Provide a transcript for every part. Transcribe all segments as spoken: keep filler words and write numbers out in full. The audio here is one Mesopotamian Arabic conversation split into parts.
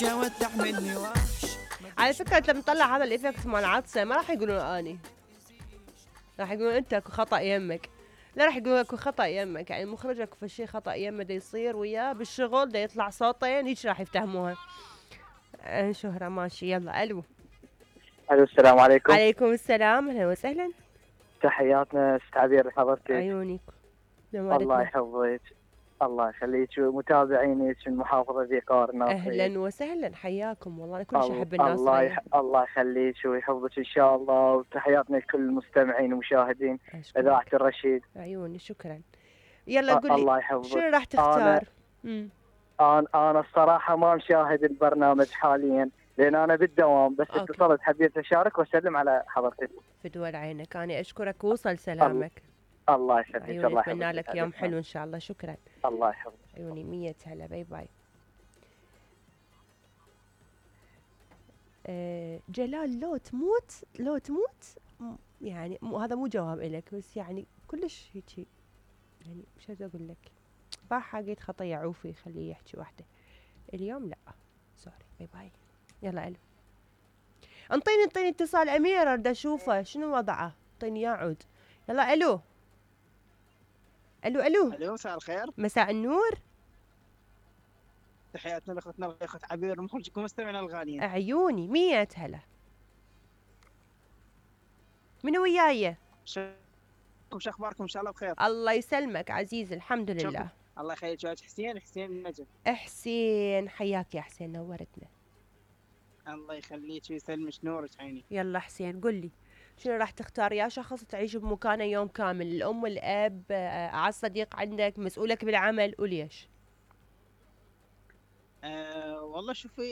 ودع مني وحش. على فكرة لما نطلع هذا الايفكت مال عطسة ما راح يقولون اني، راح يقولون انت اكو خطأ يمك. لا راح يقولون اكو خطأ يمك، يعني المخرج اكو فشي خطأ يمه دا يصير وياه بالشغل دا يطلع صوتين هيك راح يفتهموها. آه شهرة ماشي. يلا الو. الو السلام عليكم. عليكم السلام، اهلا وسهلا. تحياتنا ست عبير حضرتك. عيونك. الله يحفظك. الله يخليك. متابعينك من محافظة ذي الناصرية. اهلا وسهلا حياكم والله. انا كل شيء احب الناصرية. الله يح... الله يخليك ويحفظك ان شاء الله، وتحياتنا لكل المستمعين والمشاهدين اذاعة الرشيد. عيوني شكرا. يلا قولي الله يحفظك. شنو راح تختار؟ أنا... انا انا الصراحة ما مشاهد البرنامج حاليا لان انا بالدوام، بس اتصلت حبيت اشارك واسلم على حضرتك. بدول عينك. انا اشكرك ووصل سلامك. الله يخليك. الله يحفظك. اتمنى لك يوم حلو ان شاء الله. شكرا. الله يحفظك. عيوني مية هلا. باي باي. أه جلال لو تموت لو تموت يعني مو هذا مو جواب إلك، بس يعني كلش هيجي يعني مش اقول لك باحة قيت خطية عوفي خليه يحكي وحده اليوم. لا سوري. باي باي. يلا الو. انطيني انطيني اتصال امير اريد اشوفه شنو وضعه. انطيني اياه عود. يلا الو. الو الو. الو مساء الخير. مساء النور. تحياتنا لاخوتنا الاخت عبير مخرجكم مستمعنا الغاليين. عيوني مية هلا. منو وياي؟ شو اخباركم؟ ان شاء الله بخير. الله يسلمك عزيز الحمد لله. شكرا. الله يخليك. حسين حسين النجم. حسين حياك يا حسين نورتنا. الله يخليك ويسلمك نورك عيني. يلا حسين قل لي شنو راح تختار؟ يا شخص تعيش بمكانه يوم كامل، الام والاب، اعز صديق عندك، مسؤولك بالعمل، وليش؟ أه والله شوفي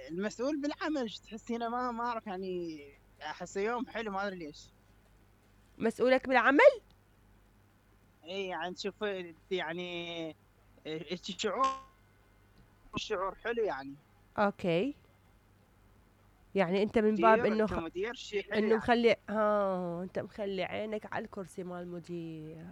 المسؤول بالعمل تحسينه ما ما اعرف يعني احسه يوم حلو ما ادري ليش. مسؤولك بالعمل؟ اي يعني شوفي يعني الشعور الشعور حلو يعني. اوكي يعني انت من باب انه خ... انه يعني. مخلي ها انت مخلي عينك على الكرسي مال المدير.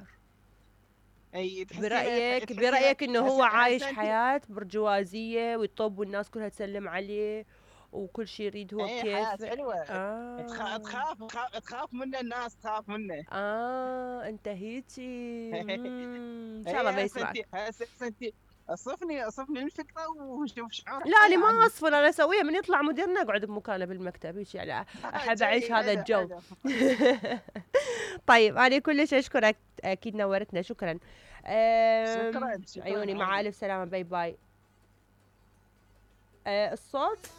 اي برايك تحسي برايك انه هو عايش حياه برجوازيه ويطب والناس كلها تسلم عليه وكل شيء يريد هو كيف. حياه حلوه. آه. تخاف تخاف منه الناس تخاف منه. اه انت هيجي ان شاء الله ما يسمعك. انت اصفني اصفني الفكره وشوف شعور. لا انا ما اصفر، انا اسويها من يطلع مديرنا اقعد بمكانه بالمكتب هيك يعني احب اعيش هذا الجو. طيب انا كلش اشكرك اكيد نورتنا. شكرا. شكرا. عيوني مع الف سلامه. باي باي. أه الصوت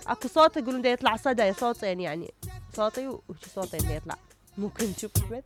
اكو صوت يقولون ده يطلع صدى صوتين يعني صوتي وشي صوتين ده يطلع ممكن تشوف بس.